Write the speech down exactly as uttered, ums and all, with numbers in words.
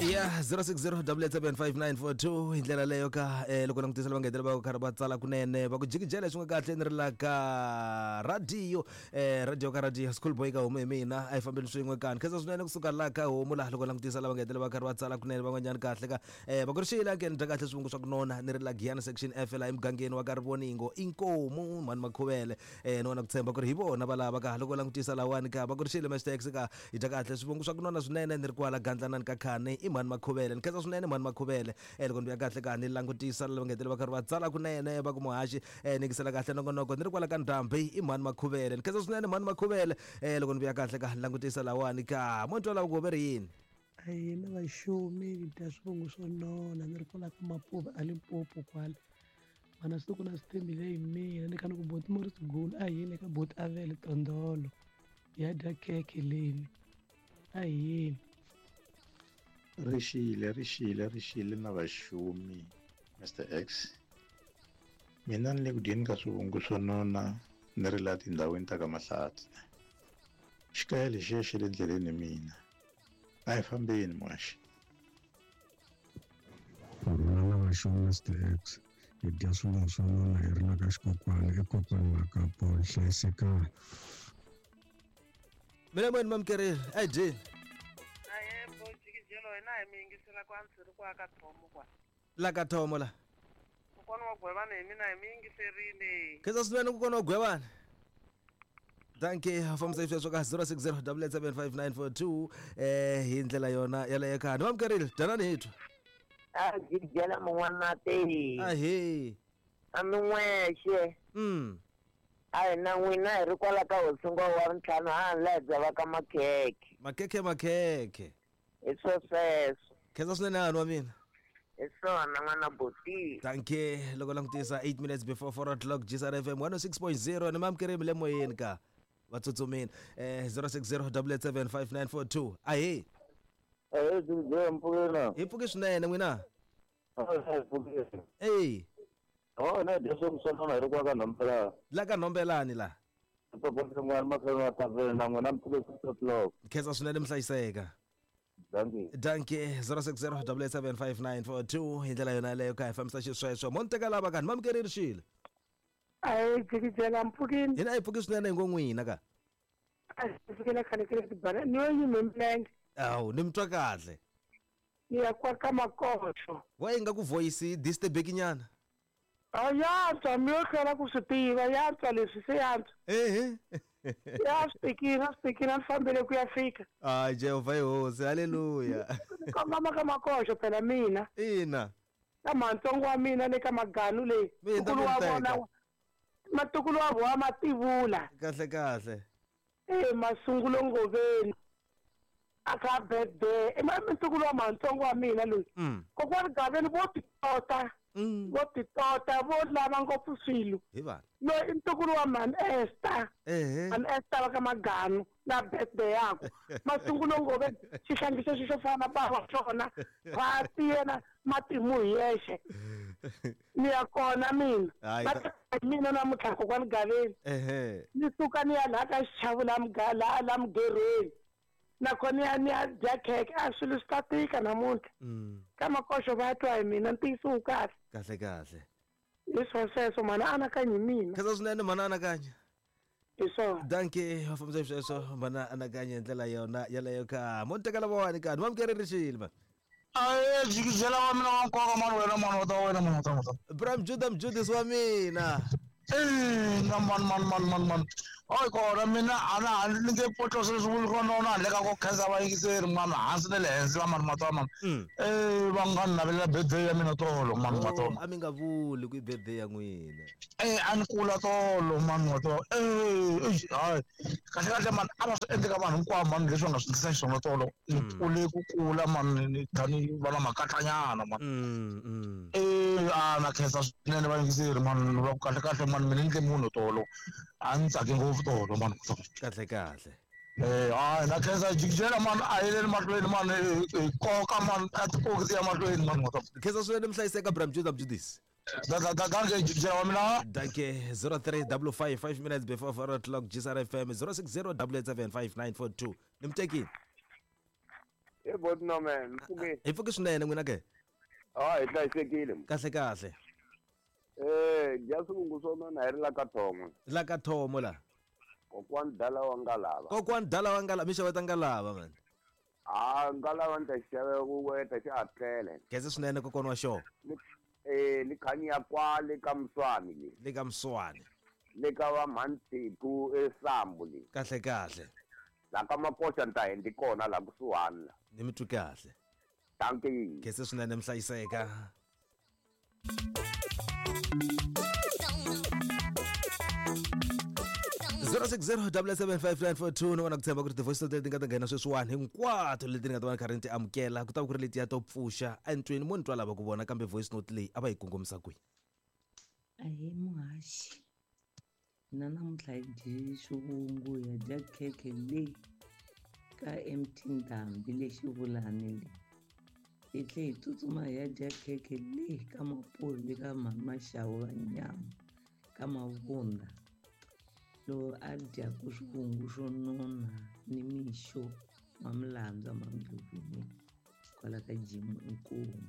Ya zero six zero double seven five nine four two hi ndlela leyo ka eh, loko langutisa lava nga hetelela va karhi va tsala kunene va ku jikijela leswi nga kahle ni ri la ka radio eh, radio ka radio school boy ka homu hi mina a hi fambeni swin'we kani khensa swinene kusuka la ka homu laha loko langutisa lava nga hetelela va karhi va tsala kunene van'wanyana kahle ka eh, va ku ri xile ke ni dya kahle swivungu swa ku nona ni ri la Giyani section F laha emugangeni wa ka Rivoningo inkomu mhani Makhuvele eh, ni vona ku tshemba ku ri hi vona va lava ka loko langutisa lawani ka va ku ri xile hashtags ka hi dya kahle swivungu swa ku nona swinene ni ri kwala Gandlanani ka Khane i mhani Makhuvele ni khensa swinene mhani Makhuvele eh, loko ni vuya kahle ka ni langutisa lava nga hetelela va karhi va tsala kunene va ku muhaxi eh, ni yingisela kahle nongonoko ni ri kwala ka Ndhambi i mhani Makhuvele ni khensa swinene mhani Makhuvele eh, loko ni vuya kahle ka ni langutisa lawani ka mo twa lava ku ve ri yini a hina vaxumi dya swivongo swo nona ni ri kwala ka Mapuva a Limpopo kwala mana swi ku na swi tshembile hi mina ni kha ni ku boti Morris Gulu a yini eka boti Avele Tondolo ya dya khekhe leni a yini Rixile rixile rixile na vaxumi Mister X mina ni le ku dyeni ka swivungu swo nona ni ri laha tindhawini ta ka Mahlatsi xikaya lexiya xa le ndleleni mina a hi fambeni muhaxi Rhula na vaxumi Mister X hi dya swivungu swo nona hi ri la ka xikokwani i kokwani wa ka Paul hlayisekani mina moyeni mamkerile a hi dyeni hina hi mi yingisela ku antswiri ku aka thomo kwa la ka thomo la kokwana wa Gwevana hi mina hi mi yingiserile khensa swinene kokwana wa Gwevana danke fambisa sweswo ka zero six zero double seven five nine four two eh hi ndlela yona yaleyo ka ni mamkerile dyanani hi twa a jikijela mun'wana te ahee a mi n'wexe mm a hi na n'wina hi ri kwala ka hosingo wa ntlhanu ha ni laha byavaka makhekhe makhekhe makhekhe hi swo sweswo khensa swinene hani wa mina hi swona n'wana boti danke loko langutisa eight minutes before four o'clock G S R F M one oh six point zero ni mamkeremi le moyeni ka vatsutsumini eh zero six zero double seven five nine four two ahee eh hi pfuki swinene n'wina ey oh na dya swo swo nona hi ri kwa ka Nhombelani la ka Nhombelani la khensa swinene mi hlayiseka danke zero six zero double seven five nine four two hi ndlela yona yaleyo ka hi fambisa xisweswo mo ni teka lava kani mamkerile xile a hi jikijela mpfukini hina a hi pfuki swinene hi ngo n'wina ka a hi pfukile khale kile tibana ni yo yime milenge awu ni mi twa kahle ni ya kwa ka Makoxo wa yi nga ku voice disturbeki nyana a yantswa mi yo hlwela ku swi tiva yantswa leswi se yantswa ehe ya swi tikile a swi tikile a ni fambele ku ya fika hayi Jehovha hi hosi haleluya ni kongoma ka Makoxo phela mina ina ka mantsongo wa mina le ka Maganu leyi ntukulu wa vona matukulu wa vona mativula kahle kahle e masungulo ngoveni a kha birthday i ntukulu wa mantsongo wa mina loyi kokwani Gaveni vo titota vo titota vo lava ngopfu swilo hi vana loyi i ntukulu wa mhani Esther ehe mhani Esther va ka Maganu na birthday yakwe masungulo ngove xihlangiso xo fana na bava xona phati yena matimu hi yexe ni ya kona mina mina namuntlha kokwani Gaveni ehe ni suka ni ya laha ka xichavu la la la mugerhweni nakona ya ni ya dya khekhe a swilo swi ta tika namuntlha ka Makoxo va twa hi mina ntiyiso wu kahle kahle kahle hi swo sweswo mhana anakanya hi mina khensa swinene mhana anakanya hi swona danke va fambisa sweswo mhana anakanya hi ndlela yona yaleyo ka mo ni teka lavawani ka ni mamkerile xile ma aye jikijela wa mina wa nkoka mani wena mani wa ta wena mani wa ta wa ta Bram Judah Mjudis wa mina eh na man man man man man hayi kona mina a na ha ni nge potlosa leswi vuli ko nona handle ka ku khensa vayingiseri mani hansi na le henhla mani mata mani eh va nga ni navelela birthday ya mina tolo mani mata a mi nga vuli ku i birthday ya n'wina eh a ni kula tolo mani mata eh hayi kahle kahle mani a va swi endli ka vanhu hinkwavo mani leswi va nga swi endlisa xiswona tolo ni kule ku kula mani ni tani va na makatlanyana mani eh a na khensa swinene vayingiseri mani va ku kahle kahle mani mina ni ndle munhu tolo a ni tsaki ngopfu tolo mani kahle kahle eh hayi na khensa jikijela mani a yeleni mahlweni mani hi koka mani a tikoki ti ya mahlweni mani khensa swinene mi hlayiseka Bram Judah Mjudis danke jikijela wa mina danke zero three double five five minutes before four o'clock G S R F M zero six zero double seven five nine four two ni mi tekile hi E bot no man, mpfuke. Hi pfuke swinene n'wina ke? Ah, hi hlayisekile. Kahle kahle. Eh, dya swivungu swo nona hi ri la ka Thomo. La ka Thomo la. Kokwani dala wa ngalava. Kokwani dala wa ngalava, mi xaveta ngalava man. Ah, ngalava ni ta xava ku weta xi atlele. Geze swinene kokwana wa xona. Eh, ni khanya kwale ka Mswani le. Le ka Mswani. Le ka va Mhantiku eSambu le. Kahle kahle. La ka Makoxa ni ta hendi kona la kusuhani la. Ni mi twi kahle. Dankie. Geze swinene mhlayiseka. zero six zero double seven five nine four two ni vona ku tshemba ku ri ti-voice note leti nga ta nghena sweswiwani hinkwato leti ni nga ta va ni karhi ni ti amukela ku ta va ku ri letiya to pfuxa entweni mo ni twa lava ku vona kambe voice note leyi a va yi kongomisa kwihi. Ahee muhaxi, hina namuntlha hi dye swivungu hi ya dya khekhe leyi ka M T Ndhambi le Xivulani le. Hi tlhe hi tsutsuma hi ya dya khekhe leyi ka Mapoli le ka Maxavu va nyama ka Mavunda. Lowu a dyaku swivungu swo nona ni mixo wa milandzu ya Mandlhovu kwala ka Jim Inkomu.